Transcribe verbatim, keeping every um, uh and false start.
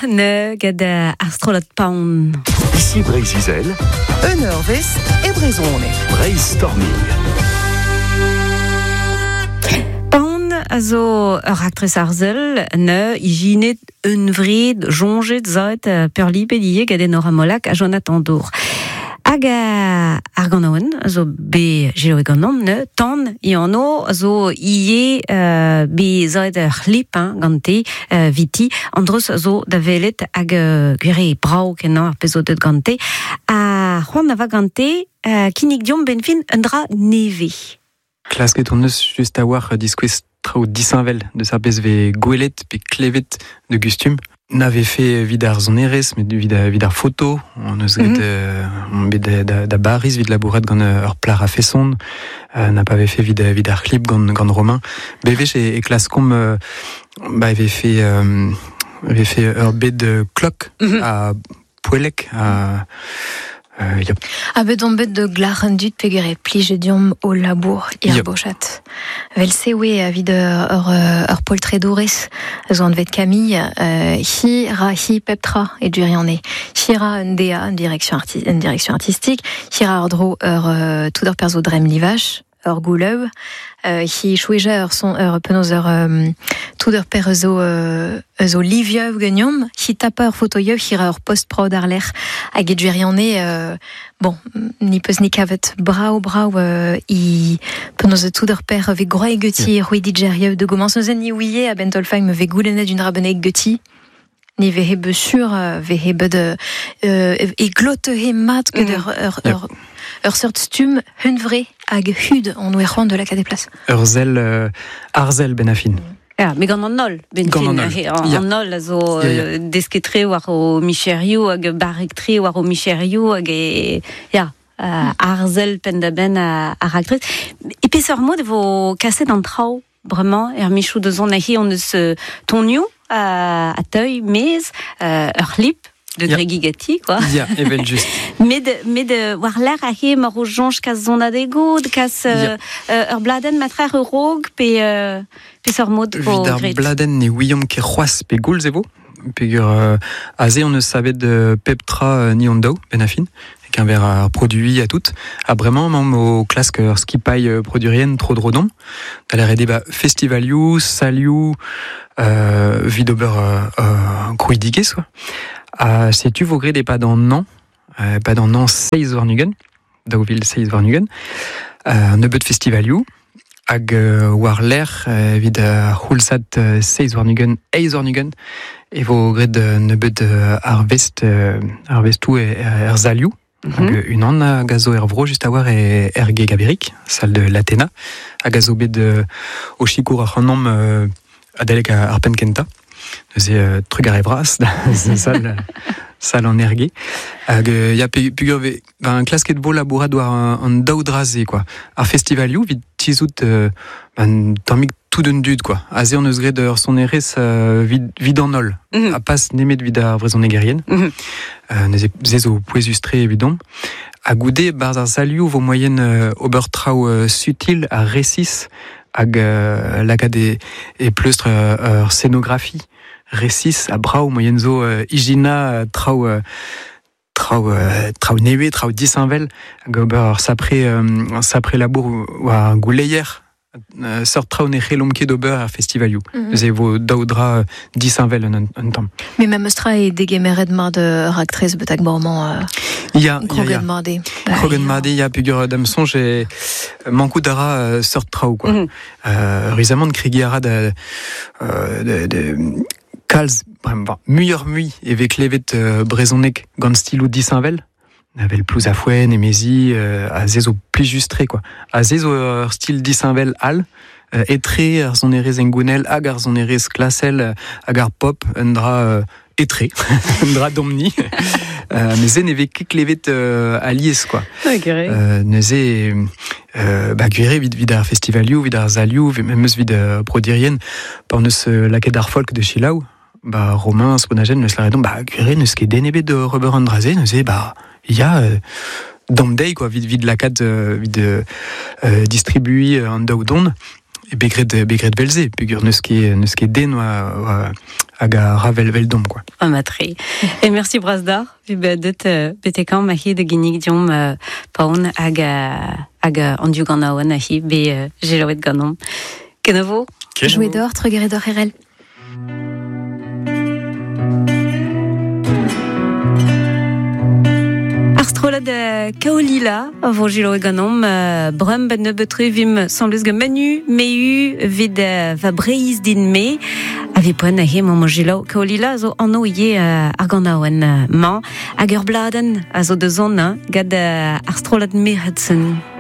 ne gant ar strollad Paon. Ici Breizh-Izel. Un eurvezh e brezhoneg. Breizh-Storming. Paon a zo ur raktres arzel ne ijinet un vred jonjet zaet peurlipet ivez gant Enora Molac ha Jonathan Dour. Hag ar ganaouenn a zo be selaouet ganeomp ne tan i anv a zo ivez euh, be zaet ur c'hlip hein, gante euh, viti an dreuz a zo da welet hag euh, gwir brav kenañ ar pezh zo deut gante ha c'hoant a va gante euh, kinnig diomp benn fin un dra nevez. Klasket hon eus just a-walc'h diskouez traoù disheñvel deus ar pezh vez gwelet pe klevet de gustum. N'avait fait vid ar sonerezh, met vid vid ar foto, on eus graet mm -hmm. euh, on bet da, da, da Baris vid labourat gant ur plac'h a feson, euh, n'a pas fait vid vid ar c'hlip gant gant Romain. Bevech e, e klaskomp euh, ba avait fait euh, avait fait ur bet de klok mm -hmm. a poellek a Euh, yep. A bet on bet de glac'h dud peogwir e plije diomp o labour ir bochat. Vel se oe evit ur, ur poltredourez zo anvet Camille, euh, hi ra hi pep tra e gwirionez. Hi ra un D A, un direction, arti un direction artistique, hi ra ur dro ur euh, tout ur perzo drem livach, ur goulev, euh, hi choueja ur son ur penaos ur euh, tout ur per zo euh, zo liviev geniom, hi tapa ur fotoiev, hi ra ur post-prod ar lec'h hag e gwirionez euh, bon, ni peus ni kavet brao brao euh, i penaos tout ur per ve groe geti yeah. Roui digeriev de gomans neuze ni ouie a ben tolfañ me ve goulennet d'un rabeneg geti ni ve hebe sur ve hebe de euh, e glote he mat ket ur ur ur ur seurt stumm hunvre hag hud on oe c'hoant de lakaat e plas. Ur sell euh, arzel ben a fin. Ja, met gant an holl, ben fin, an holl, an holl a zo yeah, yeah. desket-tre war o micherioù hag barrek-tre war o micherioù hag e, ya, uh, arzel penn-da-benn ar raktres. E peseurt mod e vo kaset an traoù bremañ er michoù da zont aze hon eus tonioù a, a teuil mez euh, ur c'hlip de yeah. Gregi Gatti, quoi. Ya, yeah, evel just. Met, met war lec'h aze mar o soñj kas sonadego, kas yeah. euh, ur bladenn matrer ur rog, pe, euh, peseurt mod vo Evit ar bladenn ne ouiomp ket c'hoazh pe goulz e vo, peogwir euh, aze on eus savet euh, pep tra euh, ni hon daou, ben a fin, keñver ar produiñ ha tout. Ha bremañ emaomp o klask ur skipailh produerien tro dro domp. Da lâret eo ba festivalioù, salioù, euh, evit ober euh, euh, krouidigezh, quoi. Ha setu vo graet e-pad an hañv, e-pad an hañv seizh warn-ugent, daou vil seizh warn-ugent, euh, un nebeud festivalioù, hag euh, war-lerc'h evit ar c'houlzad seizh warn-ugent, eizh warn-ugent, e vo graet nebeud arvest, arvestoù er salioù. Mm -hmm. Hag unan hag a zo er vro just a-walc'h e er Gegaberik, salle de l'Athéna, hag a zo bet euh, o sikour ac'hanomp euh, adalek ar penn kentañ. Neuze euh, trugarez bras da sal, sal an Erge. Hag euh, ya peogwir ve ben klasket vo labourat war an, an daou dra-se, quoi. Ar festivalioù evit tizhout euh, ben tammig tout un dud, quoi. Aze hon eus graet ur sonerezh euh, vid, vid an holl. Mm -hmm. Ha pas nemet vid ar vrezhonegerien. Mm -hmm. euh, neuze se zo pouezus-tre evidomp. Ha goude barzh ar salioù vo moaien euh, ober traoù euh, sutil ha resis hag euh, lakaat e, e pleustr euh, ur scénographie resis ha brav moaien zo euh, ijinañ traoù euh, traoù euh, traoù nevez, traoù disheñvel hag ober ur sapre, euh, sapre labour war gouleier euh, seurt traoù ne c'hellomp ket ober ar festivalioù. Mm -hmm. Neuze e vo daou dra disheñvel un, un tamm. Met memes tra eo degemeret mat ur raktres betek bremañ. Euh, ya, ya, ya. Mat eo. Kroget mat eo, ya, peogwir da'm soñj e mankout a ra euh, seurt traoù, quoi. Mm -hmm. euh, Rizamant kregiñ a ra da, euh, de, de kalz, bremañ, muioc'h-mui e vez klevet euh, brezhoneg gant stiloù disheñvel. Avel plouz a foenn, emezi, euh, a ze zo plijus-tre, quoi. A ze zo ur stil disheñvel all, euh, etre ar sonerezh hengounel hag ar sonerezh klasel hag ar pop, un dra euh, etre, un dra domni. euh, met se ne vez ket klevet euh, alies, quoi. Euh, neuze, euh, ba gwir eo evit, evit ar festivalioù, evit ar salioù, memes evit euh, produerien, pa hon eus euh, lakaet ar folk de selaou, ba Romain Sponagen neus lâret ba gwir eo n'eus ket den ebet de ober an dra-se, neuze ba ya euh, dam dezhi, quoi, evit, evit lakaat euh, evit euh, distribuiñ an daou don, e bet graet, bet graet vel-se, peogwir n'eus ket, n'eus ket den war, war hag a ravel vel dom quoi. Ah matre. Et merci Brasdar, vi bet betekam ma hi de ginnig diom paon hag hag an du gant aouen a hi be gelaouet ganom. Kenavo? Jouet d'or, trugere d'or erel. Ar strollad Kaolila a vo gelaouet ganom brem ben nebeut vim semblez gant Manu meu vid va breiz din me a vi poen a he mañ gelaou Kaolila zo anno ie ar gant aouen mañ hag ur bladen a zo de zon gad ar strollad Merhudson.